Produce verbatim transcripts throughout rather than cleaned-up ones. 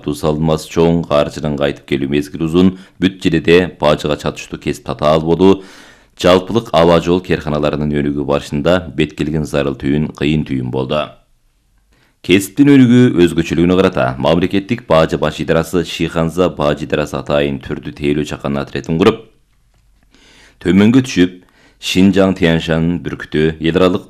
сыяктуу салынмасы чоң, каржынын кайтып келүү мезгили узун, бүт жерде бажыга чатыштуу кесип татаал болуу, жалпылык аба жол керканаларынын өнүгүү барышында бет келген зарыл түйүн кыйын түйүн болду. Кесиптин өнүгүү өзгөчөлүгүнө карата мамлекеттик бажы баш идарасы Шиханза бажы идарасы атайын түрдүү тейлөө чакан отрядын куруп, төмөнгө түшүп, Шинжаң Тяньшан бүркүтү эл аралык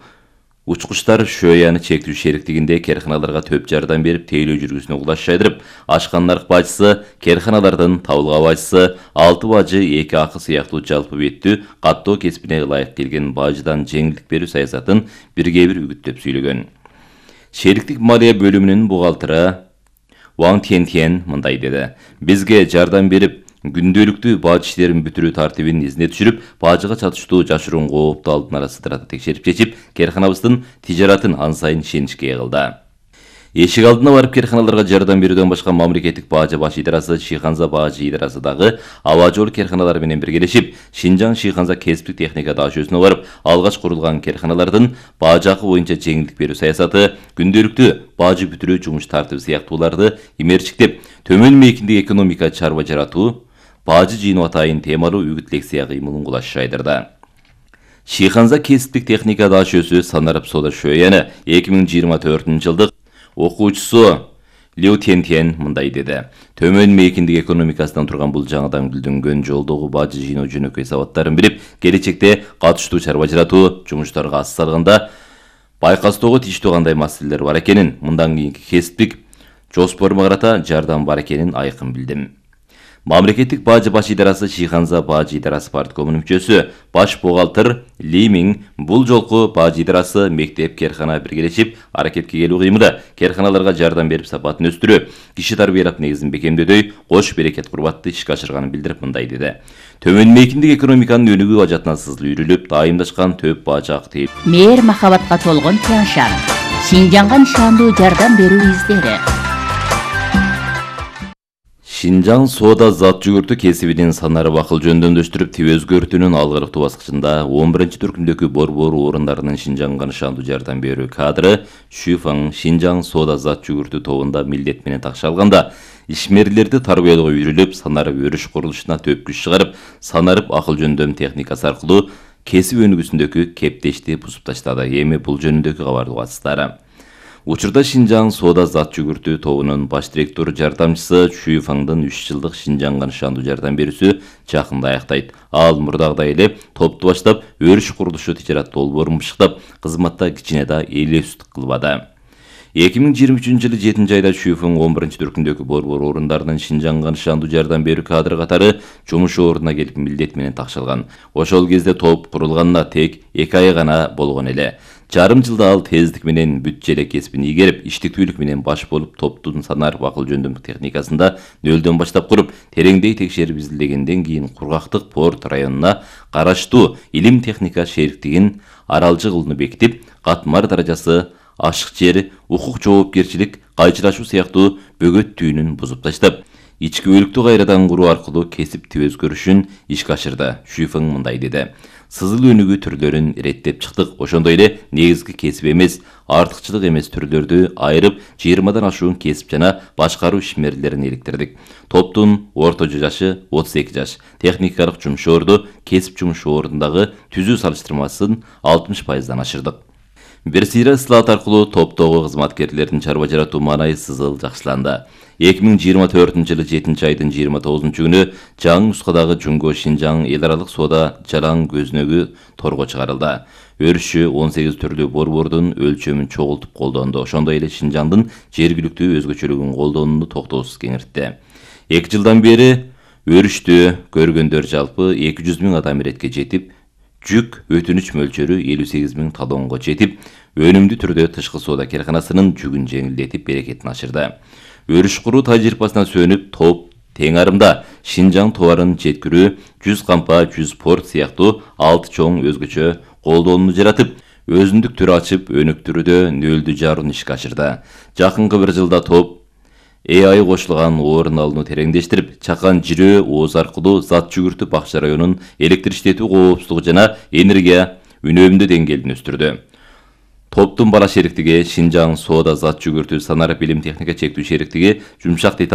учкучтар шөяны чектүү шериктигинде керканаларга төп жардам берип тейлөө жүргүсүнө кулаш жайдырып, ашкан нарк бажысы, керканалардын табылга бажысы, алты бажы эки акы сыяктуу жалпы беттүү каттоо кесибине ылайык келген бажыдан жеңилдик берүү саясатын бирге бир үгүттөп сүйлөгөн. Шериктик малия бөлүмүнүн бухгалтери Ван Тяньтян мындай деди: "Бизге жардам берип, күндөлүктүү бажы иштерин бүтүрүү тартибин изине түшүрүп, бажыга чатыштуу жашыруун коопту алдын ала сыдырата текшерип чечип, керканабыздын тижаратын ан сайын ишеничке ээ кылды." Эшик алдына барып керканаларга жардам берүүдөн башка мамлекеттик бажы баш идарасы Шиханза бажы идарасы дагы аба жол керканалары менен биргелешип, Шинжаң Шиханза кесиптик техника дашөөсүнө барып, алгач курулган керканалардын бажы акы боюнча жеңилдик берүү саясаты, күндөлүктүү бажы бүтүрүү жумуш тартиби сыяктууларды имерчиктеп, төмөн мейкиндик экономика чарба жаратуу, бажы жыйноо атайын темалуу үгүт лекция кыймылын кулаш жайдырды. Шиханза кесиптик техника дашөөсү Санарып Сода Шөяны эки миң жыйырма төртүнчү жылдык окуучусу Лю Тяньтян мындай деди: "Төмөн мейкиндик экономикасынан турган бул жаңыдан гүлдөнгөн жолдогу бажы жыйноо жөнөкөй сабаттарын билип, келечекте катыштуу чарба жаратуу жумуштарга ас салганда байкастоого тийиштүү кандай маселелер бар экенин, мындан кийинки кесиптик жоспорума карата жардам бар экенин айкын билдим." Мамлекеттик бажы баш идарасы Шиханза бажы идарасы парткомунун мүчөсү баш бухгалтер Ли Миң бул жолку бажы идарасы мектеп керкана биргелешип аракетке келүү кыймылы, керканаларга жардам берип сапатын өстүрүү, киши тарбиялап негизин бекемдөдөй кош берекет курбатты ишке ашырганын билдирип мындай деди: "Төмөн мейкиндик экономиканын өнүгүү ажатына сызыл үйрүлүп, дайымдашкан төп бажы акы тейип, мээр махабатка толгон Тяньшан, Шинжаңга нишандуу жардам берүү издери." Шинжаң соода зат жүгүртүү кесибинин Санарып акыл жөндөмдөштүрүп, тип өзгөртүүнүн алгырыктуу баскычында он биринчи түркүмдөгү борбор орундарынын Шинжаңга нышандуу жардам берүү кадры Шүфаң Шинжаң соода зат жүгүртүү тобунда милдет менен такшы алганда, ишмерлерди тарбиялоого үйрүлүп, Санарып өрүш курулушуна төп күч чыгарып, Санарып акыл жөндөм техникасы аркылуу кесип өнүгүүсүндөгү кептешти бузуп таштады. Эми бул жөнүндөгү кабарды угасыздар. Учурда Шинжаң соода зат жүгүртүү тобунун баш директору жардамчысы Шүфаңдын үч жылдык Шинжаңга нышандуу жардам берүүсү жакында аяктайт. Ал мурдагыдай эле топту баштап, өрүш курулушу тижарат долбоорун бышыктап, кызматта кичине да элестик кылбады. эки миң жыйырма үчүнчү жылы жетинчи айда Шүфаң он биринчи түркүмдөгү борбор орундарынын Шинжаңга нышандуу жардам берүү кадры катары жумуш ордуна келип милдет менен такшы алган. Ошол кезде топ курулганына тек эки ай гана болгон эле. Жарым жылда ал тездик менен бүт желе кесибин ийгерип, иштиктүүлүк менен баш болуп, топтун Санарып акыл жөндөм техникасында нөлдөн баштап куруп, тереңдей текшерип изилдегенден кийин Кургактык порт районуна караштуу илим техника шериктигин аралжы кылууну бекитип, катмар даражасы, ашык жер, укук жоопкерчилик, кайчылашуу сыяктуу бөгөт түйүнүн бузуп таштап, ички өлүктү кайрадан куруу аркылуу кесип тип өзгөрүшүн ишке ашырды. Шүфаң мындай деди: "Сызыл өнүгүү түрлөрүн иреттеп чыктык. Ошондой эле негизги кесип эмес, артыкчылык эмес түрлөрдү айырып, жыйырмадан ашуун кесип жана башкаруу ишмерлерин иликтирдик. Топтун орто жашы отуз эки жаш. Техникалык жумуш орду, кесип жумуш ордундагы түзүү салыштырмасын алтымыш пайыздан ашырдык. Бир сыйра ысылат аркылуу топтогу кызматкерлердин чарба жаратуу маанайы сызыл жакшыланды. эки миң жыйырма төртүнчү жылы жетинчи айдын жыйырма тогузунчу күнү жаңы нускадагы Жунго Шинжаң эл аралык соода жалаң көзүнөгү торго чыгарылды. Өрүшү он сегиз түрлүү борбордун өлчөмүн чогултуп колдонду. Ошондой эле Шинжаңдын жергиликтүү өзгөчөлүгүн колдонууну токтоосуз кеңиртти. эки жылдан бери өрүштү көргөндөр жалпы эки жүз миң адам иретке жетип, жүк өтүнүч мөлчөрү элүү сегиз миң талонго жетип, өнүмдүү түрдө тышкы соода керканасынын жүгүн жеңилдетип, берекетин ашырды. Өрүш куруу тажрыйбасына сүйөнүп, топ тең арымда Шинжаң товарын жеткирүү, жүз кампа, жүз порт сыяктуу алты чоң өзгөчө колдонууну жаратып, өзүндүк түр ачып, өнүктүрүүдө нөлдүү жарууну ишке ашырды. Жакынкы бир жылда топ Э А I кошулган орун алууну тереңдештирип, Чакан жирөө ооз аркылуу зат жүгүртүү Бакча районунун электр иштетүү коопсуздугу жана энергия үнөмдүү деңгээлин өстүрдү. Топтун бала шериктиги Шинжаң соода зат жүгүртүү Санарып илим техника чектүү шериктиги жумшак деталь